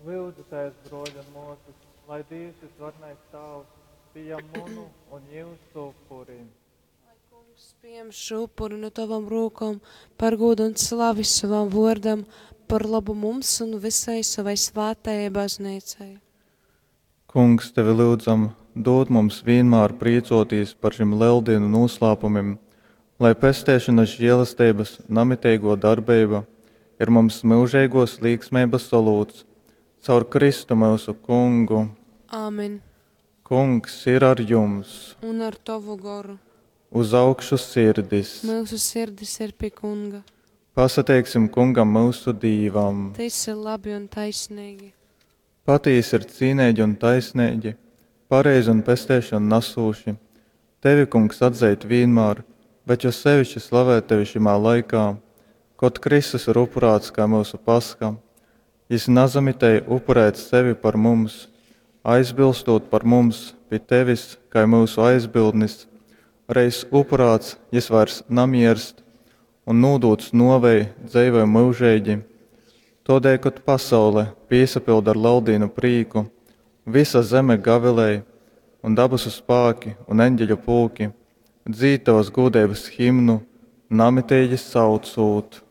Lyudzitēs, brōļi un mōsas, lai Dīvs vysvarenais Tāvs pījam munu un jūsu upuri. Lai Kungs pījam šo upuri no tavam rūkom par gūdu un slavi savam vōrdam, par lobu mums un vysai sovai svātajai Bazneicai. Kungs, tevi lyudzam, dūd mums vīnmār prīcōtīs par šim Leldīnu nūslāpumim, lai pesteišonas želesteibas namiteigō darbeiba ir mums myužeigōs līgsmeibas olūts. Caur Kristu myusu Kungu. Āmen. Kungs ir ar jums. Un ar tovu goru. Uz augšu sirdis. Myusu sirdis ir pi Kunga. Pasateiksim Kungam myusu Dīvam. Tys ir labi un taisneigi. Patīsi ir cīneigi un taisneigi, pareizi un pesteišonu nasūši, tevi, Kungs, atzeit vīnmār, bet jo seviški slavēt tevi šymā laikā, kod Kristus ir upurāts kai myusu Pasha. Jys nasamitēja upurēt sevi par mums, aizbilstūt par mums pi tevis kai myusu aizbildnis. Reiz upurāts, jys vairs namierst, un nūdūts nōvei, dzeivoj myužeigi. Tōdēļ, kod pasaule pīsapylda ar Leldīnu prīku, vysa zeme gavilej, un dabasu spāki un eņģeļu pulki dzīd tovas gūdeibas himnu, namiteigi saucūt.